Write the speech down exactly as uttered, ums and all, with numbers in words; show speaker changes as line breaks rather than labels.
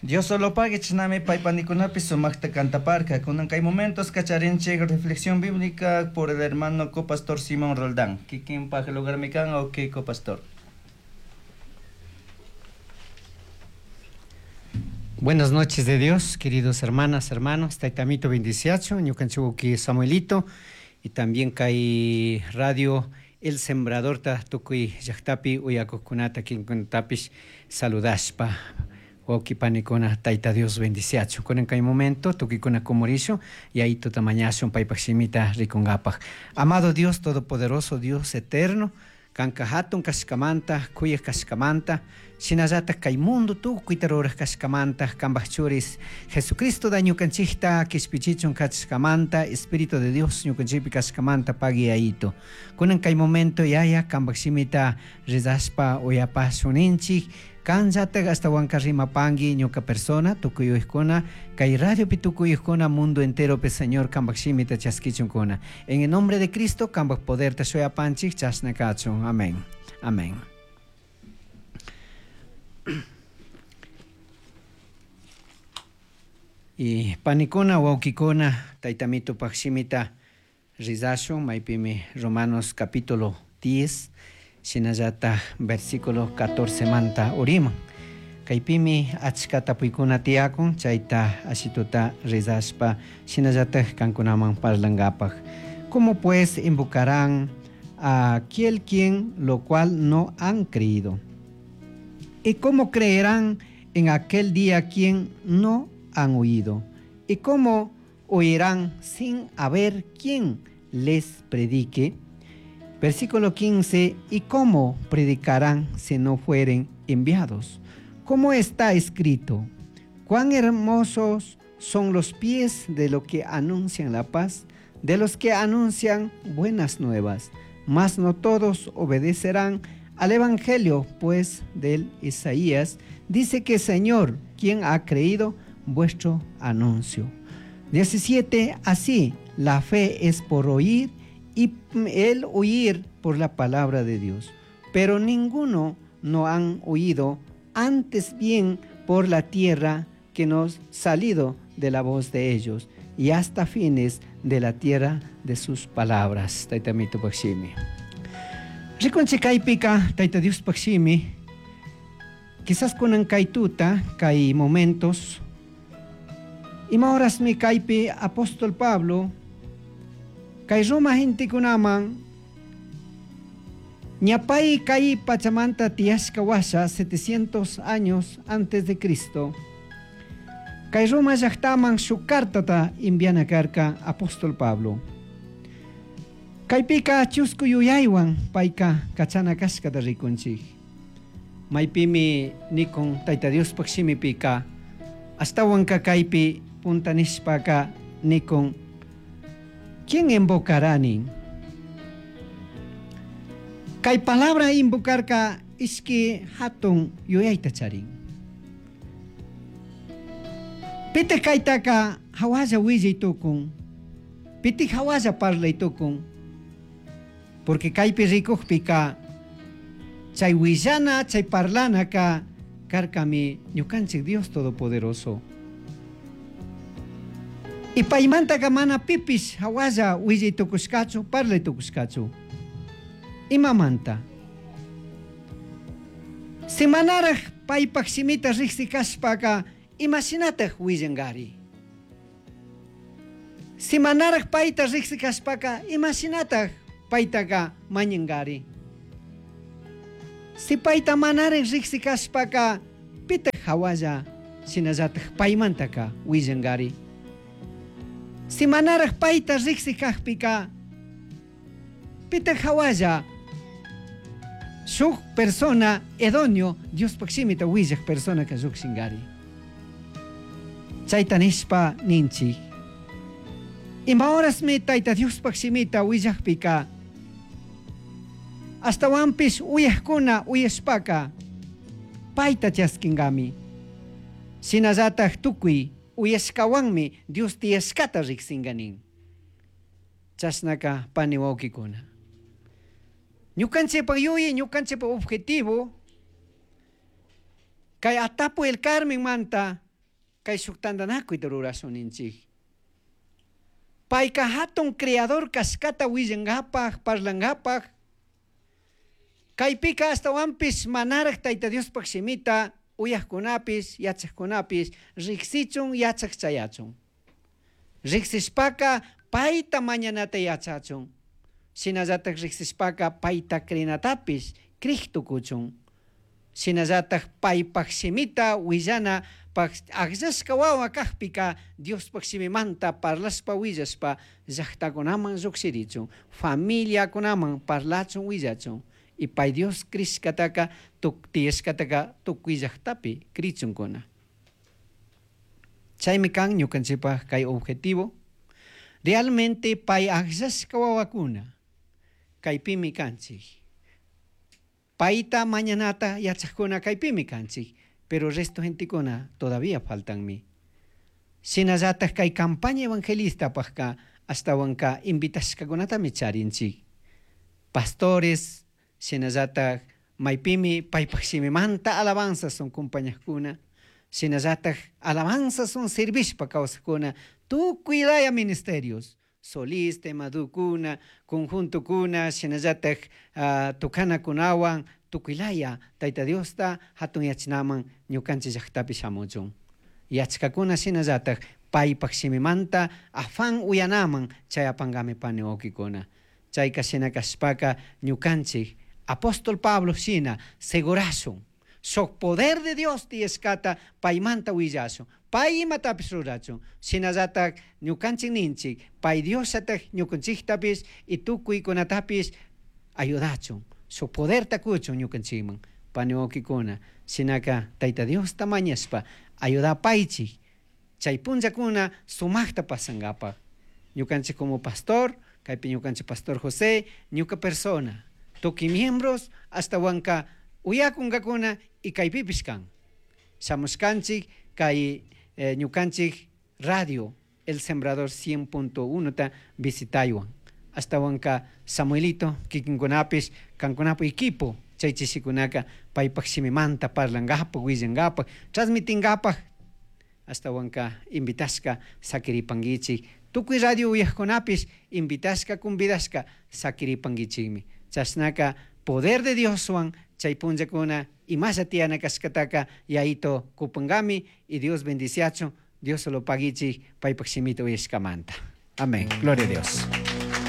Dios solo pague chinami paypanikunapi sumaqta cantaparka. Kunan kay momentos kacharinchik reflexión bíblica por el hermano copastor Simón Roldán. Kikinpaq lugarmi kan, ok, copastor.
Buenas noches de Dios, queridos hermanas, hermanos, Taitamito bendiciacho, ñukanchik Samuelito, y también kay radio El Sembrador ta tukuy llaqtapi uyakuqkunata kinkunatapish saludashpa wawqi panikuna Tayta Dios bendiciacho. Kunan kay momento tukuykuna kumurisho yayituta mañashun paypaq shimita rikunkapaq. Amado Dios Todopoderoso, Dios eterno, kanka hatun kashkamanta, kuyaq kashkamanta, shinallataq kay mundo tukuyta ruraq kashkamanta, kanpaq churis Jesucristo da ñukanchikta kishpichichun kachashkamanta, Espíritu de Dios ñukanchikpi kashkamanta pagui yayito. Kunan kay momento yaya kanpaq shimita rezashpa uyapashuninchik, kanllatak ashtawanka rimapanki ñuka persona, tukuyuykuna, kay radiopi tukuyuykuna, mundo enteropi Señor kanpaq shimita chaskichunkuna. En el nombre de Cristo, kanpaq poderta shuyapanchik, chashna kachun. Amén. Amén. Y panikuna, wawkikuna, taytamito paq shimita rizashun, maypimi Romanos capítulo diez, shinallata versículo catorce manta uriman. Kaypimi achka tapuykuna tiyakun, chayta ashituta rizashpa, shinallata kankunaman parlankapaq. ¿Cómo pues invocarán a aquel quien lo cual no han creído? ¿Y cómo creerán en aquel día quien no han oído? ¿Y cómo oirán sin haber quien les predique? Versículo quince, ¿y cómo predicarán si no fueren enviados? ¿Cómo está escrito? Cuán hermosos son los pies de los que anuncian la paz, de los que anuncian buenas nuevas. Mas no todos obedecerán al Evangelio, pues del Isaías dice que Señor, ¿quién ha creído vuestro anuncio? diecisiete, así la fe es por oír y el oír por la palabra de Dios. Pero ninguno no han oído, antes bien por la tierra que nos salido de la voz de ellos, y hasta fines de la tierra de sus palabras. Taytamito paqshimi. Rikunchik kaypika, Tayta Dios paqshimi, quizás kunan kay tuta, kay momentos, ima horasmi kaypi apóstol Pablo, kay Roma gentekunaman, ñapay kay pachamanta tiyashka washa setecientos años antes de Cristo, kay Roma llaqtaman shuk cartata enviana karka apóstol Pablo. Kaypika chusku yuyaywan payka kachana kashkata rikunchik. Maypimi nikun Tayta Diospaq shimipika, ashtawanka kaypi punta nishpaka nikun, ¿quién invocará nin? Kay palabra invocarka ishki hatun yuyayta charin. Piti kaytaka hawalla willay tukun, piti hawalla parlay tukun, porque kaypi rikukpika chay willana, chay parlanaka karkami ñukanchik Dios Todopoderoso. Y paymantaka mana pipis hawalla willay tukushkachu, parlay tukushkachu. Imamanta? Si manaraj paypaq shimita riqsikashpaka, imashinataq willangari? Si manaraj payta riqsikashpaka, imashinataq paytaka mañangari? Si payta manaraj riqsikashpaka, pitaq hawalla shinallataq paymantaka willangari? Si manaraj payta riqsikaqpika, pitaq hawalla shuk persona idóneo Diospaq shimita willaq persona ka lluqshingari. Chayta nishpa ninchik. Ima horasmi Tayta Diospaq shimita willaqpika, ashtawanpish uyaqkuna uyashpaka payta chaskingami. Shinallataq tukuy uyashkawanmi Dios tiyashkata riqsinganin. Chashnaka pani wawqikuna. Ñukanchikpak yuyay, ñukanchikpak objetivo, kay Atapu el Carmen manta Kay shuk tantanakuyta rurashun ninchik. Payka hatun creador kashkata willankapaj, parlankapaj. Kaypika ashtawanpish manaraj Tayta Diospaj shimita uyajkunapis, yachajkunapis riksichun, yachaj chayachun. Riksishpaka payta mañanata yachachun. Shinallataj riksishpaka payta crinatapish crij tukuchun. Shinallataj paypaj shimita willana akllashka wawa kajpika Diospaj shimimanta parlashpa willashpa llaktakunaman llukshirichun, familiakunaman parlachun willachun. Y pay Dios crishkataka tiyashkataka tukuy llaktapi crichunkuna. Chaymi kan ñukanchikpaj kay objetivo. Realmente pay akllashka wawakuna kaypimi kanchik. Payta mañanata yachajkuna kaypimi kanchik, pero resto gentekuna todavía faltanmi. Shinallataj kay campaña evangelistapajka ashtawanka invitashkakunatami charinchik. Pastores, shinallataj maypimi paypaj shimimanta alabanzas son compañajkuna, shinallataj alabanzas son servishpa kawsajkuna, tukuy laya ministerios, solista, madukuna, conjuntokuna, shinallataj uh, tukanakunawan, tukuy laya Tayta Diosta hatun yachanaman ñukanchik llaktapi shamuchun. Yachkakuna shinallataj paypaj shimimanta afán uyanaman chayapankami pani wawkikuna. Chayka shina kashpaka ñukanchik apóstol Pablo shina segurashun. Shuk poder de Dios tiyashkata paymanta willashun. Pay imatapish rurachun. Shinallataj ñukanchik ninchik, pay Diosllataj ñukanchiktapish y tukuykunatapish ayudachun. Shuk poderta kuchun ñukanchikman. Pani wawkikuna, shinaka Tayta Diosta mañashpa ayudapaychik. Chay punllakuna sumakta pasankapaj. Ñukanchik como pastor, kaypi ñukanchik pastor José, ñuka persona, tukuy miembros ashtawanka uyakunkakuna y kaypipish kan. Shamushkanchik kay eh, ñukanchik radio El Sembrador cien punto uno ta visitaywan. Ashtawanka Samuelito, kikinkunapish, kankunapu equipo, chay chishikunaka paypaj shimimanta parlankapaj, willankapaj, transmitinkapaj, ashtawanka invitashka sakiripankichik. Tukuy radio uyajkunapish invitashka, convidashka sakiripankichikmi. Chashnaka poder de Dioswan chay punllakuna imasha tiyana kashkataka yayito kupankami y Dios bendiciachun, Dios lo paguichik paypaj shimita uyashkamanta. Amén. Gloria a Dios.